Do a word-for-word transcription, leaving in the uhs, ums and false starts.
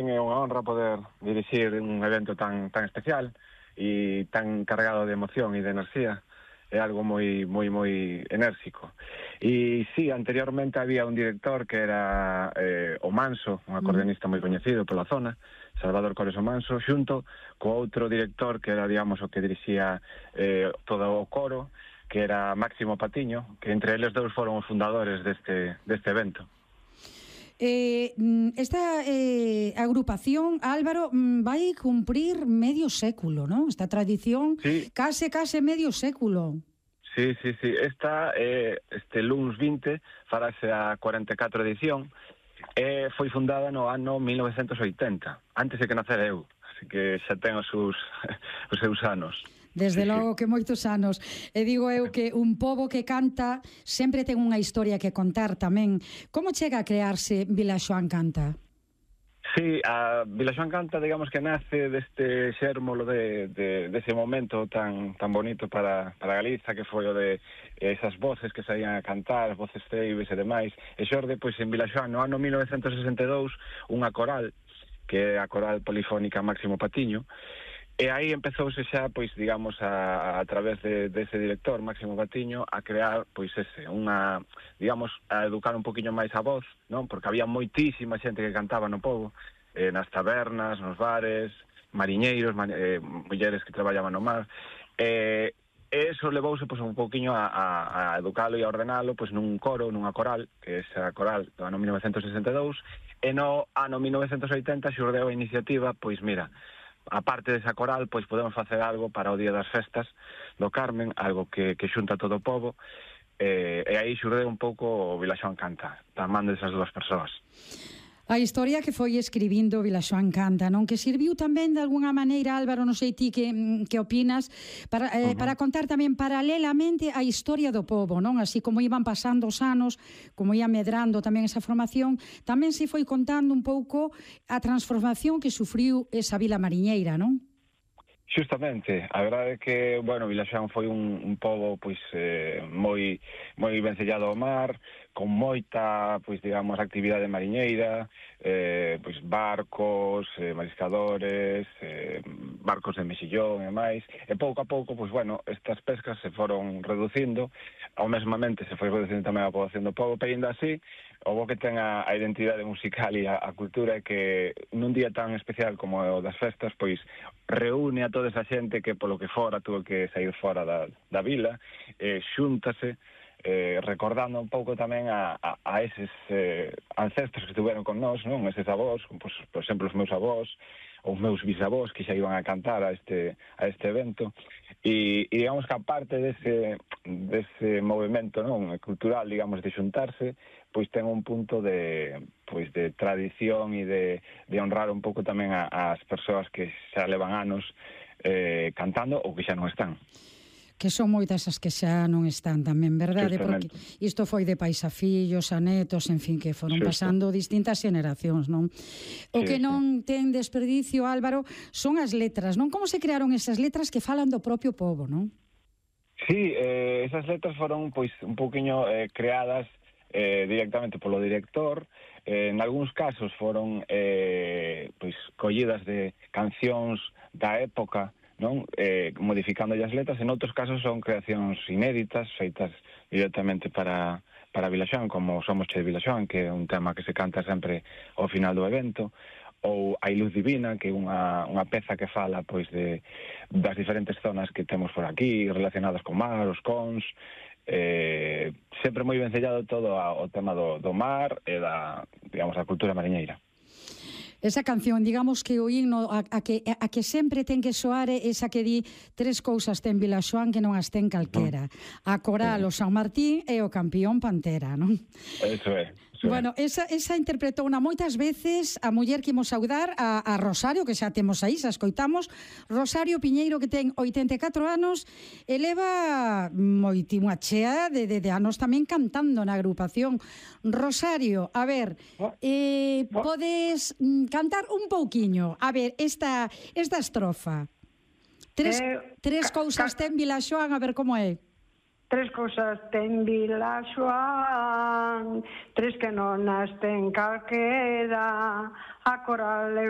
É unha honra poder dirixir un evento tan tan especial e tan cargado de emoción e de enerxía. É algo moi moi moi enérxico. E sí, anteriormente había un director que era eh, o Manso, un acordeonista moi coñecido pola zona, Salvador Cores o Manso, xunto co outro director que era, digamos, o que dirixía eh, todo o coro, que era Máximo Patiño, que entre eles dous foron os fundadores deste, deste evento. Eh, esta eh, agrupación, Álvaro, vai cumprir medio século, non? Esta tradición, sí. case, case medio século. Sí, sí, sí. Esta, eh, este luns vinte, farase a cuarenta e catro edición, e foi fundada no ano mil novecentos e oitenta, antes de que nacera eu, así que xa ten os seus, os seus anos. Desde sí, logo sí. que moitos anos. E digo eu que un pobo que canta sempre ten unha historia que contar tamén. Como chega a crearse Vilaxoán Canta? Sí, a Vilaxoán Canta, digamos que nace deste xérmolo de, de, dese momento tan tan bonito para, para Galiza, que foi o de esas voces que saían a cantar, voces ceibes e demais. E xorde, pois, en Vilaxoán, no ano mil novecentos e sesenta e dous, unha coral, que é a coral polifónica Máximo Patiño. E aí empezouse xa, pois, digamos, a, a través de, de ese director, Máximo Patiño, a crear, pois, ese, unha, digamos, a educar un poquinho máis a voz, non? Porque había moitísima xente que cantaba no pobo, eh, nas tabernas, nos bares, mariñeiros, ma, eh, mulleres que traballaban no mar, e eh, eso levouse, pois, un poquinho a, a, a educalo e a ordenalo, pois, nun coro, nunha coral, que é esa coral do ano mil novecentos e sesenta e dous, e no ano mil novecentos e oitenta xurdeu a iniciativa, pois, mira, a parte desa coral, pois podemos facer algo para o Día das Festas do Carmen, algo que, que xunta todo o pobo, e, e aí xurde un pouco o Vilaxoán Canta, da man desas dúas persoas. A historia que foi escribindo Vilaxoán Canta, non? Que serviu tamén de alguna maneira, Álvaro, non sei ti que, que opinas, para, eh, uh -huh. para contar tamén paralelamente a historia do pobo, non? Así como iban pasando os anos, como ia medrando tamén esa formación, tamén se foi contando un pouco a transformación que sufriu esa vila mariñeira, non? Justamente, a verdade é que, bueno, Vilaxoán foi un, un pobo, pois, eh, moi moi vencellado ao mar, con moita, pois, digamos, actividade mariñeira, eh, pois, barcos, eh, mariscadores, eh, barcos de mexillón e máis, e pouco a pouco, pois, bueno, estas pescas se foron reducindo, ao mesmamente se foi reducindo tamén a poboación do pobo, pero ainda así, o bo que ten a, a identidade musical e a, a cultura é que nun día tan especial como o das festas, pois, reúne a toda esa xente que polo que fora tuvo que sair fora da, da vila, eh, xúntase, eh, recordando un pouco tamén a, a, a eses eh, ancestros que estuveron con nós, non? Eses avós, pues, por exemplo, os meus avós, os meus bisavós que xa iban a cantar a este, a este evento, e, e digamos que a parte dese, dese movimento, non, cultural, digamos, de xuntarse, pois ten un punto de, pois, de tradición e de, de honrar un pouco tamén a, as persoas que xa levan anos eh, cantando ou que xa non están. Que son moitas as que xa non están tamén, verdade? Porque isto foi de pais a fillos, a netos, en fin, que foron pasando distintas xeneracións, non? O que non ten desperdicio, Álvaro, son as letras, non? Como se crearon esas letras que falan do propio pobo, non? Sí, eh, esas letras foron, pois, un pouquiño eh, creadas eh, directamente polo director, eh, en algúns casos foron eh, pois, collidas de cancións da época, non? Eh, modificando as letras, en outros casos son creacións inéditas, feitas directamente para, para Vilaxoán, como Somos Che de Vilaxoán, que é un tema que se canta sempre ao final do evento, ou Hai Luz Divina, que é unha, unha peza que fala, pois, de, das diferentes zonas que temos por aquí, relacionadas con mar, os cons, eh, sempre moi vencellado todo ao tema do, do mar e da, digamos, a cultura mariñeira. Esa canción, digamos que o himno a, a, que, a que sempre ten que soar é esa que di tres cousas ten Vilaxoán que non as ten calquera. A coral, o San Martín e o campión Pantera, non? Eso é. Bueno, esa, esa interpretou na moitas veces a muller que imos saudar, a, a Rosario, que xa temos aí, xa escoitamos. Rosario Piñeiro, que ten oitenta e catro anos, e leva moitima chea de, de, de anos tamén cantando na agrupación. Rosario, a ver, eh, podes cantar un pouquiño. A ver, esta, esta estrofa. Tres, eh, tres cousas ten Vilaxoán, a ver como é. Tres cousas ten Vila Xoán, tres que non as ten calquera, a coral e os